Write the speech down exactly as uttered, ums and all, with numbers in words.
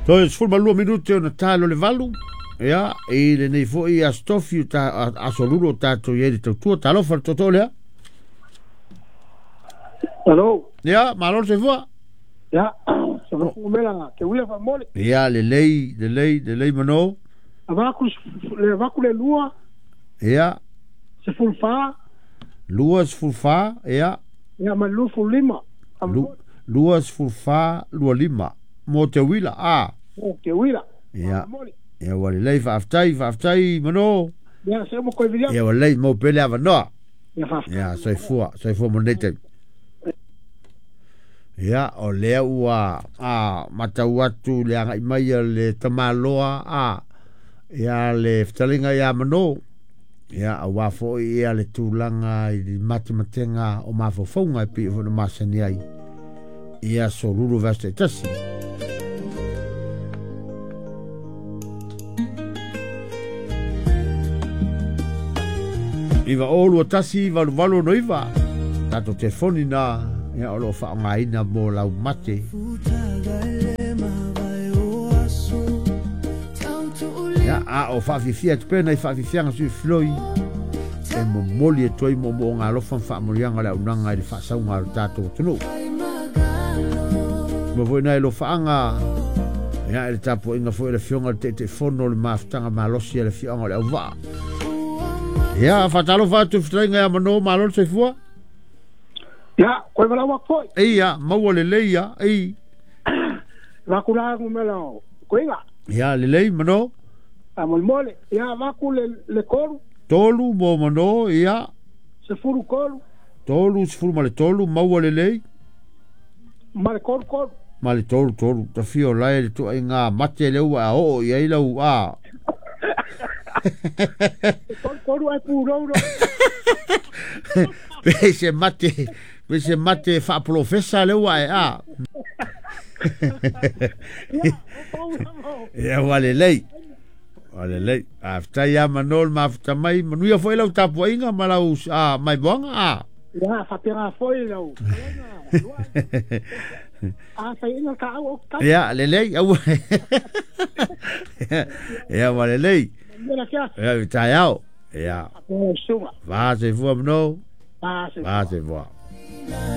Toe sefulu ma lua minute ona talo le valu. Ia, i lenei foi aso tofi aso lulu o tatou i ai le tautua. Talofa le tootoo lea. Alo. Ia, malo le soifua. Ia, mela te uila faamole. Ia, lelei, lelei, lelei mano. Avaku le avaku le lua. Ia. Sefulu fa. Lua sefulu fa, ia. Ia, ma lua fulu lima. Lua sefulu fa, lua lima. Mo te uila, a. Mo te uila. Ia. Ia, ua lelei, faafetai, faafetai mano. Ia, se mo koe vilia. Ia, ua lelei, mo pele avanoa. Ia, faafetai. Ia, soifua, soifua mo lenei taimi. Ia, o lea ua a, matau atu le agai mai a le tamaloa a, ia le fetalinga ia mano. Ia, auā foi ia le tulaga i le matematega o mafaufauga e pei foi ona masani ai ia aso lulu vaiaso taitasi. Iva o lua tasi valu valu ono iva tatou telefoni na ia o loo faaaogaina mo lau mate. Ia a o faafifia atu pea nai faafifiaga sui filoi e momoli atu ai moomooga alofa ma faamanuiaga o le auaunaga i le faasauga o le tatou atunuu. Ma foi nai alofaaga ia i le tapuaiga foi o le afioga i le Taitaifono o le mafutaga malosi a le afioaga o le Auvaa. Ia, faatalofa atu i fetalaiga ia Mano, malo le soifua. Ia, koe walau atu foi. Ia, maua lelei ia, ei. Vaku la ngumela o koinga. Ia, lelei Mano. A molemole, ia vaku le le tolu. Tolu mo Mano, ia. Sefulu tolu. Tolu, sefulu ma le tolu, maua lelei. Ma le tolu tolu. Ma le tolu tolu. Tafia o lae le tuaiga mate le ua a oo i ai lau a. Tolu tolu ai purou. Pe se mate, pe se mate faapolofesa le ua e a. Ia, ua lelei. Ua lelei. Faafetai ia Mano le mafuta mai. Manuia foi lau tapuaiga ma lau a, maimoaga a. Ia, faapena foi lau. A fai ina ka au o ka. Ia, lelei. Aua. Ia, ua lelei. Mela kia. Ia, taeao. Ia. Sunga. Va soifua Mano. Va Va soifua.